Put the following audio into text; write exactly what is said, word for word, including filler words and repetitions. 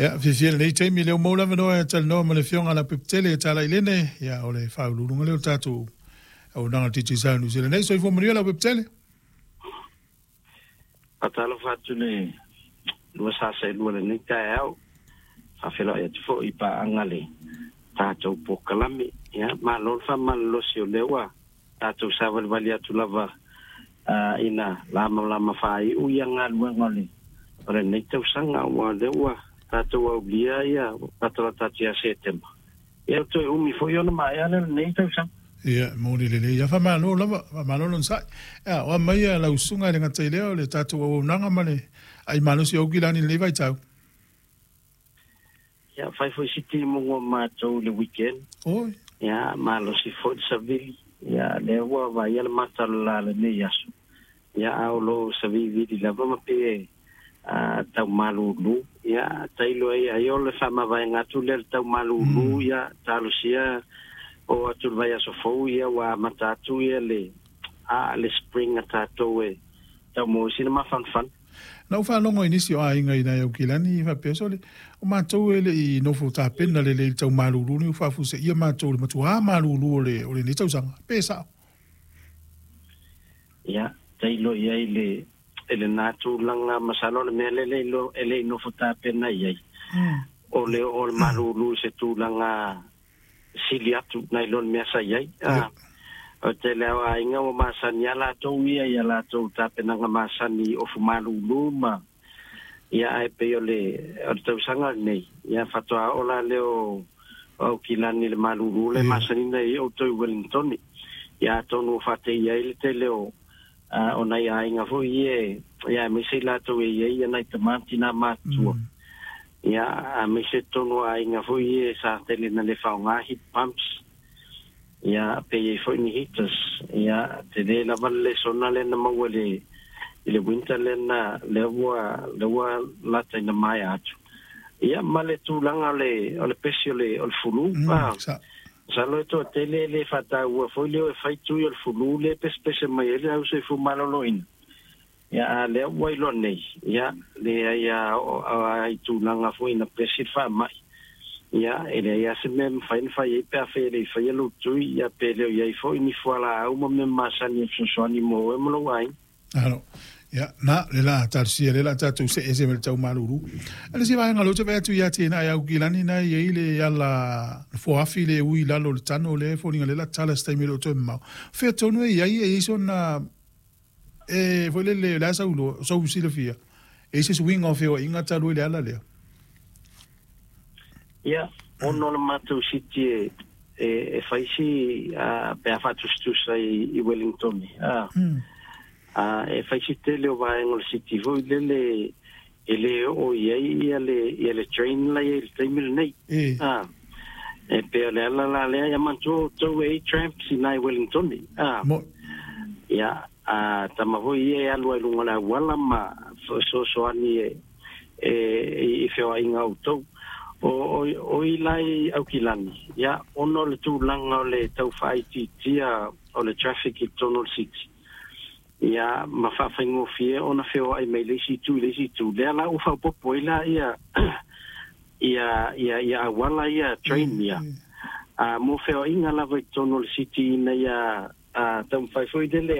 Ia, fiafia i lenei taimi lea ua maua le avanoa e talanoa ma le Afioga ia Leaupepe Talailene, ia o le faauluuluga lea o le tatou auaunaga a le Digicel Niu Sila nei. Soifua manuia Leaupepe Tele. Faatalofa atu le lua sa saelua i lenei taeao. Faafeiloai atu foi i paaga le tatou polokalame. Ia, malo le faamalolosi o lea ua tatou savalivali atu lava uh, ina lamalama faaiu ia galuega o le o lenei tausaga, ua o lea ua tatou aulia ia tatou ia Setema. Ia, toe umi foi ona maea le lenei tausaga. Ia, moni lelei. Ia, faamalo lava, faamalo lonosai. Ia, o a mai ia lau susuga i le gata i lea o le tatou auaunaga ma le ai malosi o Aukilani i lenei vaitau. Ia, fai foi si timuga o matou i le weekend. Oi. Ia, malosi foi le savili. Ia, lea ua vaaia le mata o le la lenei aso. Ia, a o lo savivili lava ma pe a tau malulu. Ia, tailo ai ai o le faamavaega atu lea le tau malulu. Mm. Ia, talosia o atu le vaiaso fou, ia ua amata atu ia le a le spring a tatou e tau mo sina mafanafana. Na ou faalogo i nisi o aiga i nai Aukilani faapea sole, o matou e le i nofo tapena lelei i le tau malulu ni ua faafuaseia matou i le matuā malulu o le o lenei tausaga. Pe sao? Ia, tailo i ai le e lena tulaga masalo le mea lea e le i nofo tapena i ai. O le o le malulu i se tulaga sili atu nai lo le mea sa i ai. Ah, o tele o aiga ua masani a latou ia ia latou tapenaga masani ofu malulu ma ia ae pei o le o le tausaga lenei ia faatoa oo la lea o Aukilani i le malulu le masani i outou i Wellington. Ia, atonu ua faateia ai le tele o o nai aiga foi ia, ia aemaise i latou e i ai ia nai tamā ma tinā matutua. Ia, aemaise totonu o aiga foi ia sa tele na le faaaoga heat pumps. Ia, pe i ai foi ni heaters. Ia, tele lava le lesona lea na maua i le i le winter lea na lea ua lea ua lata ina maea atu. Ia, ma le tulaga o le o le pesi o le o le fulu. Mm, sa. Masalo e toatele e le faataua foi lea e fai tui o le fulu lea e pesepese mai ai le au soifua maloloina. Ia, a lea ua iloa nei, ia, leai a oo i tulaga foi ina pesi le faamai. Ia, e leai lava se mea e mafai ona fai ai pe afai e le i faia lou tui, ia pe le o i ai foi ni fualaau ma mea masani e fesoasoani mo oe ma lou aiga. Alo. Ia, na, le la talosia le la tatou see ese ma le tau malulu. A le isi vaega lea ou te vaai atu ia te na i Aukilani na i ai le ala foafi le ui i lalo o le tano lea e foliga lea la tala se taimi e le o toe mamao. Fea tonu e i ai e i ai sona e foi lele o le a sau iloa, sau silafia. E i ai se suiga o feoaiga talu ai le ala lea. Ia, ona o le matou city e e, e fai si uh, pe a faatusatusa i, i Wellington. Ah. Mm. Uh, e fai si tele o vaega o le city foi lele e le oo i ai ia le, ia le train la i ai i le taimi lenei. E. Ah. E pei o le ala la lea, ia manatua outou e i ai tramps i nai Wellington. Ah. Mo. Ia, a tama foi ia e alu ai i luga o le auala ma fesoasoani e, e, i feoaiga o outou. O, o, o i la i Aukilani, ia, ona o le tulaga o le tau faaitiitia o le traffic i totonu o le city. Ia, ma faafaigofie ona feoai mai le isi itu i le isi itu. Lea la ua faaopoopo ai la ia, ia, ia, ia auala ia train ia. A mo feoaiga lava i totonu o le city ina ia a, taumafai foi lele.